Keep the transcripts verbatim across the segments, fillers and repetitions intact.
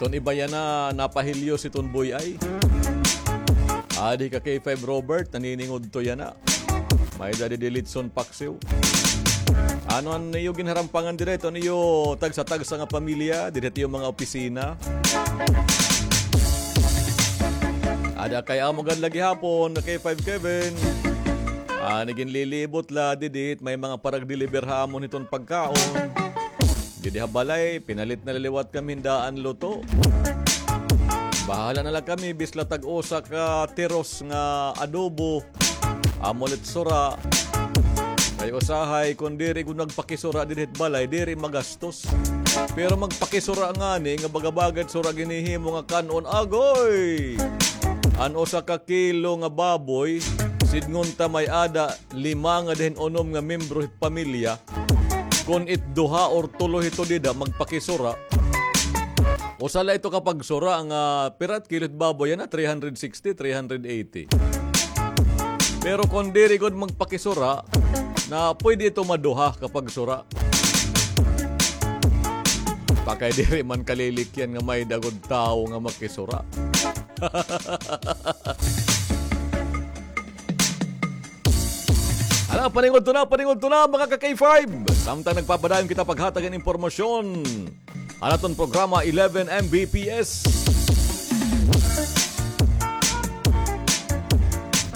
Ton iba yana, napahilyos iton buy-ay. Adi ka K five Robert, naniningudto yana. May-ada didi litson paksiw. Ano an iyo ginharampangan dida, iton iyo tagsa-tagsa nga pamilya, dida ha iyo mga opisina? Ada kay amo gad la gihapon, K five Kevin. Ah, ginlilibot la didi, may mga parag-deliver ha amon hiton pagkaon. Didi ha balay, pinalit na la liwat kami hin daan luto. Bahala na la kami, bisan la tag-usa ka tiros nga adobo. Amo la it sura. Kay usahay, kon diri gud nagpakisura didi hit balay, diri magastos. Pero magpakisura ngani nga baga-baga it sura ginhihimo nga kan-on, agoy! An usa ka kilo nga baboy, sidngon ta may-ada lima ngada hin unom nga membro hit pamilya, kon it duha or tulo hito dida magpakisura, usa la ito ka pagsura nga pira it kilo hit baboy yana, three hundred sixty, three hundred eighty. Pero kon diri gud magpakisura, na pwede ito maduha ka pagsura. Pakay diri man kalilikyan nga may-ada gud tawo nga makisura. Hala, paningudto na, paningudto na, mga ka-K five. Samtang nagpapadayon kita paghatag hin impormasyon, an aton programa, eleven M B P S.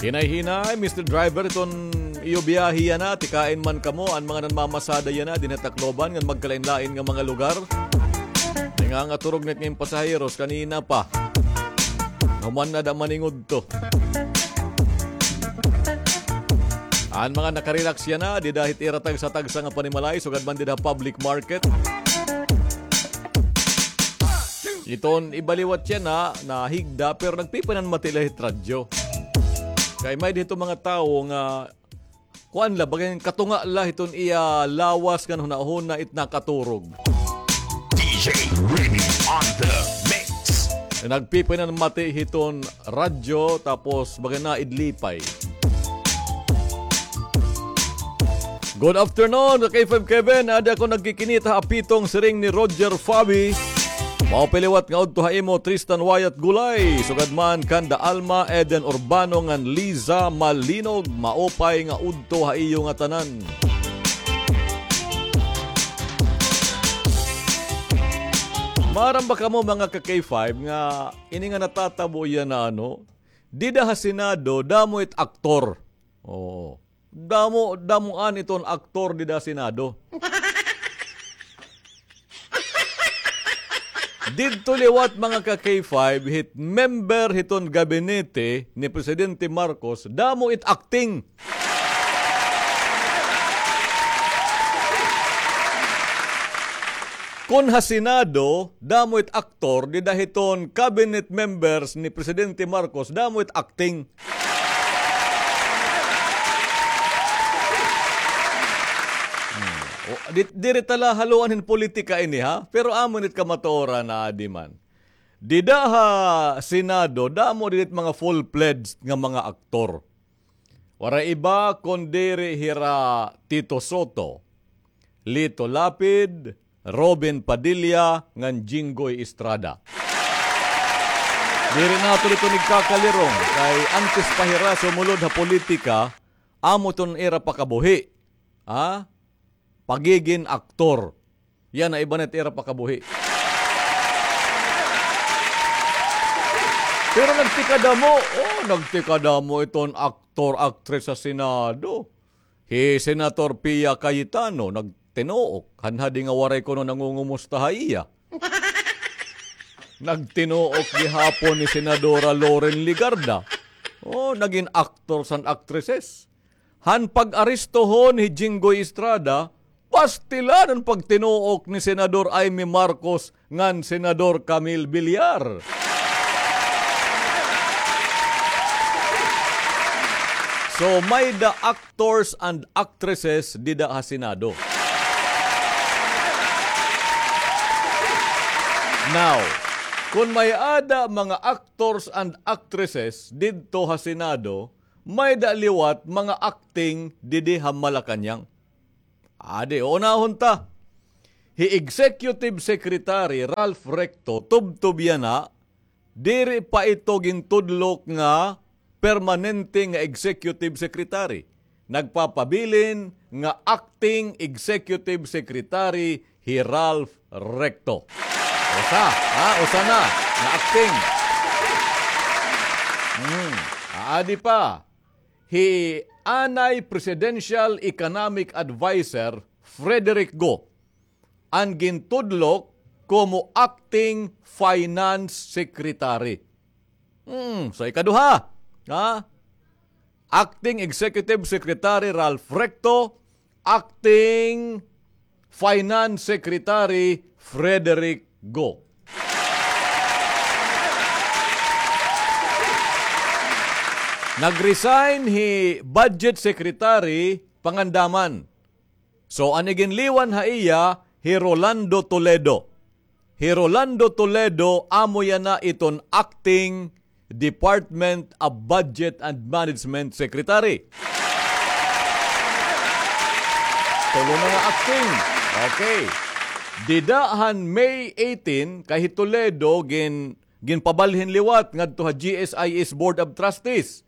Hinay-hinay, Mister Driver, iton iyo biyahe yana, tikain man kamo, an mga nanmamasada yana, dinhi ha Tacloban, ngan magkalain-lain nga mga lugar. Nangangaturog na it nga pasaheros, kanina pa. Human na da maningudto. An mga nakarelax yana, dida hit ira tagsa-tagsa nga panimalay, sugad man dida public market. Iton iba liwat yana, nahigda, pero nagpipinanmati la hit radyo. Kay may-ada hito mga tawo nga kuan la, baga katunga la hiton iya lawas ngan hunahuna it nakaturog. D J Remy on the mix. Nagpipinanmati hiton radyo, tapos baga naidlipay. Good afternoon, ka K five Kevin. Adi ako nagkikinita ha pitong siring ni Roger Fabi. Maupay liwat nga udto ha imo, Tristan Wyatt Gulay, sugad man kanda Alma, Eden Urbano, ngan Liza Malinog. Maupay nga udto ha iyo ngatanan. Maaram ba kamo, mga ka K five, nga ini nga natatabo yana, ano, dida ha Senado, damo it aktor. Oo. Damo, damo an iton aktor dida ha Senado. Didto liwat, mga ka K five, hit member hiton gabinete ni Presidente Marcos, damo it acting. Kon ha Senado, damo it aktor, dida hiton cabinet members ni Presidente Marcos, damo it acting. Hmm. O, di, diri ta la haluan hin politika ini, ha? Pero amo ini it kamatuoran, adi man. Dida ha Senado, damo didi it mga full-fledged nga mga aktor. Waray iba kon diri hira Tito Sotto, Lito Lapid, Robin Padilla, ngan Jinggoy Estrada. Diri nato didto nagkakalirong, kay antes pa hira sumulod ha politika, amo iton ira pakabuhi. Ha? Pagigin aktor. Yana, iba na it ira pakabuhi. Pero nagtikadamo, oh, nagtikadamo iton aktor, aktres ha Senado. Hi Senator Pia Cayetano, nagtinuok. Hanhadi nga waray kuno nangungumusta ha iya. Nagtinuok gihapon ni Senadora Loren Legarda. Oh, nagin actors and actresses. Han pag-aristohon hi Jinggoy Estrada, pastilan an pagtinuok ni Senador Imee Marcos ngan Senador Camille Villar. So, may-ada actors and actresses dida ha Senado. Now, kon may-ada mga actors and actresses didto ha Senado, may-ada liwat mga acting didi ha Malacañang. Adi, unahon ta. Hi Executive Secretary Ralph Recto, tubtob yana, diri pa ito gintudlok nga permanente nga executive secretary. Nagpapabilin nga acting executive secretary hi Ralph Recto. Usa, ha? Usa na nga acting. Hmm. Aadi pa, hi anay Presidential Economic Adviser Frederick Go an gintudlok komo acting finance secretary. Hmm, sa ikaduha, ha? Acting Executive Secretary Ralph Recto, Acting Finance Secretary Frederick Go. Nag-resign hi Budget Secretary Pangandaman. So, an iginliwan ha iya, hi Rolando Toledo. Hi Rolando Toledo, amo yana iton acting Department of Budget and Management Secretary. Tulo na nga acting. Okay. Dida han May eighteen, kay hi Toledo, gin-, ginpabalhin liwat ngadto ha G S I S Board of Trustees.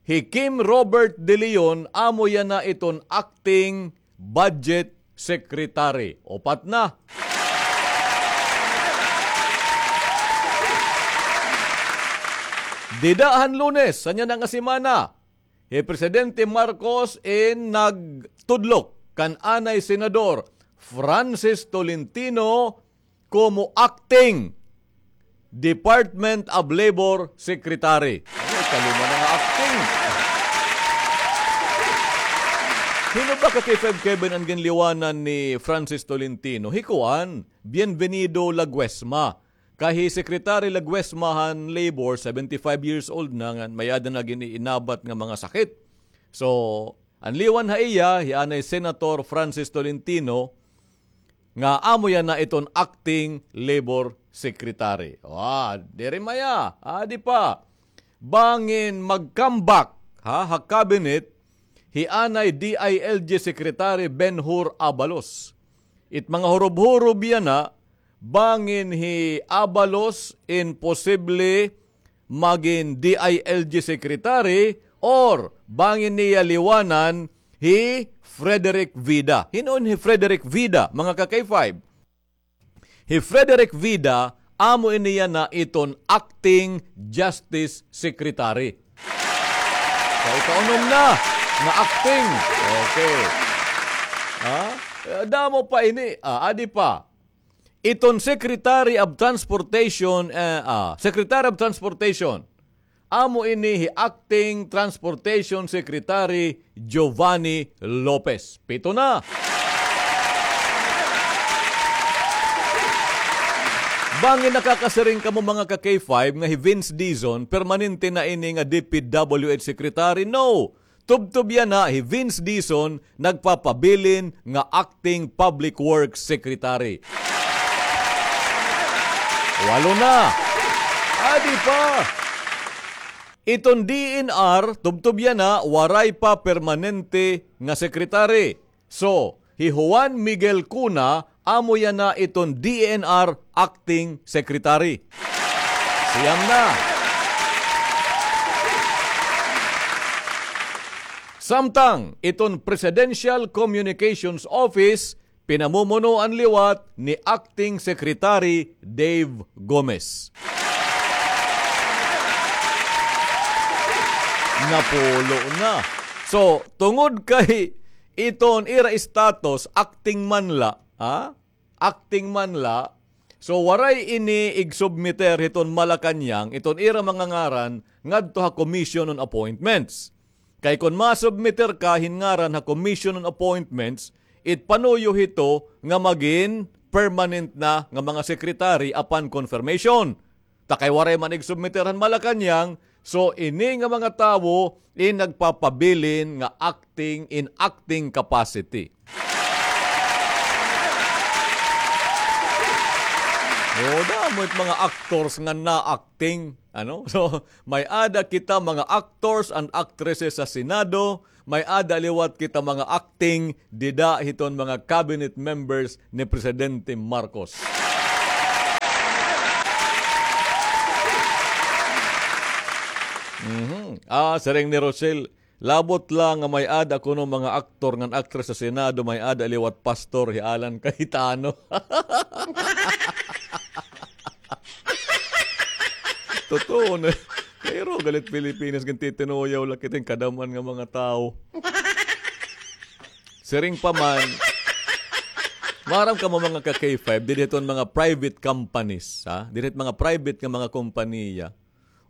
Hi Kim Robert De Leon, amo yana iton acting budget secretary. Upat na. Dida han Lunes, han yana nga semana, hi Presidente Marcos in nagtudlok kan anay Senador Francis Tolentino komo acting Department of Labor Secretary. Ay, kalima na nga acting. Hin-o ba, ka K five Kevin, an ginliwanan ni Francis Tolentino? Hi kuan, Bienvenido Laguesma. Kay hi Secretary Laguesma han Labor, seventy-five years old na, ngan may-ada na gin-iinabat nga mga sakit. So, an liwan ha iya, hi anay Senator Francis Tolentino, nga amo yana iton acting labor secretary. Ah, diri maya, adi pa. Bangin mag-comeback, ha, ha cabinet, hi anay D I L G Secretary Ben-Hur Abalos. It mga hurob-hurob yana, bangin hi Abalos in posible magin D I L G secretary or bangin niya liwanan hi Frederick Vida. Hin-o hi Frederick Vida, mga ka K five? Hi Frederick Vida, amo ini yana iton acting justice secretary. So, ikaunom na nga acting. Okay. Ha? Eh, damo pa ini. Ah, adi pa. Iton Secretary of Transportation, eh, ah, Secretary of Transportation, amo ini hi Acting Transportation Secretary Giovanni Lopez. Pito na. Bangin nakakasiring kamo, mga ka K five, nga hi Vince Dizon, permanente na ini nga D P W H Secretary? No. Tubtob yana, hi Vince Dizon nagpapabilin nga Acting Public Works Secretary. Walo na. Adi pa. Iton D N R, tubtob yana, waray pa permanente nga secretary. So, hi Juan Miguel Cuna, amo yana iton D N R acting secretary. Siyam na. Samtang iton Presidential Communications Office, pinamumunuan liwat ni Acting Secretary Dave Gomez. Napulo na. So, tungod kay iton ira status, acting man la, ha? Acting man la. So, waray ini igsubmiter hiton Malacañang, iton ira mga ngaran ngadto ha Commission on Appointments. Kay kon masubmiter ka hin ngaran ha Commission on Appointments, it panuyo hito nga magin permanent na nga mga secretary upon confirmation. Ta kay waray man igsubmiter han Malacañang, so ini nga mga tawo in nagpapabilin nga acting in acting capacity. O, damo it mga actors nga na-acting, ano? So, may-ada kita mga actors and actresses sa Senado, may-ada liwat kita mga acting dida hiton mga cabinet members ni Presidente Marcos. Mhm. Ah, siring ni Rochelle, labot la nga may-ada kuno mga aktor ngan aktres sa Senado, may-ada liwat pastor hi Alan Cayetano. Totoo na. Pero galit Pilipinas, gintitinuyaw la kita hin kadam-an nga mga tawo. Siring pa man, maaram kamo mga ka-K five, diri hiton mga private companies, ha? Diri hit mga private nga mga kompanya.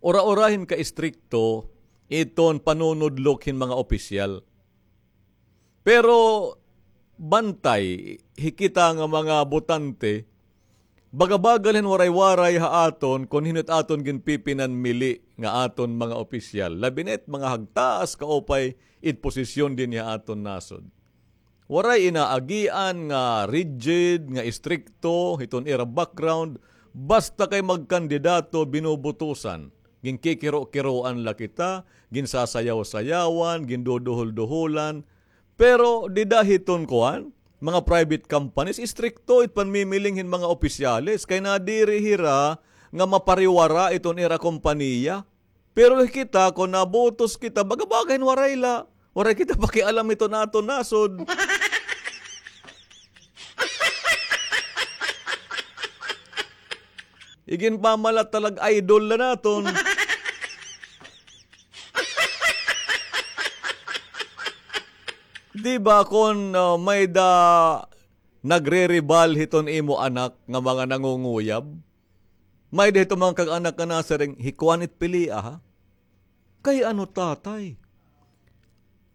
Ura-ura hin ka-istrikto iton panunudlok hin mga opisyal. Pero bantay, hi kita nga mga botante, baga-baga la hin waray-waray ha aton kon hin-o it aton ginpipinanmili nga aton mga opisyal. Labi na it mga hagtaas kaupay it posisyon dinhi ha aton nasod. Waray inaagian nga rigid, nga istrikto hiton ira background, basta kay magkandidato, binubutusan. Ginkikiro-kiroan la kita, ginsasayaw-sayawan, ginduduhol-duholan. Pero dida hiton kuan, mga private companies, istrikto it panmimiling hin mga opisyales, kay nadiri hira nga mapariwara iton ira kompanya. Pero kita, kon nabutos kita, baga-baga hin waray la. Waray kita pakialam hiton aton nasod. Iginpamalat ta la nga idol la naton. Di ba kon, ah, may-ada nagreribal hiton imo anak nga mga nangunguyab? May-ada hito mga kag-anak nga nasiring, "Hi kuan it pilia, ha?" "Kay ano, tatay?"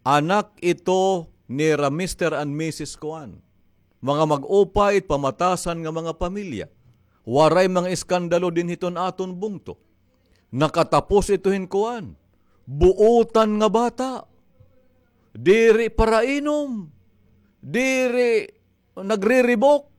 "Anak ito nira Mister and Missus Kuan. Mga mag-upay it pamatasan nga mga pamilya. Waray mga iskandalo dinhi hiton aton bungto. Nakatapos ito hin kuan. Buotan nga bata. Diri parainom. Diri nagriribok."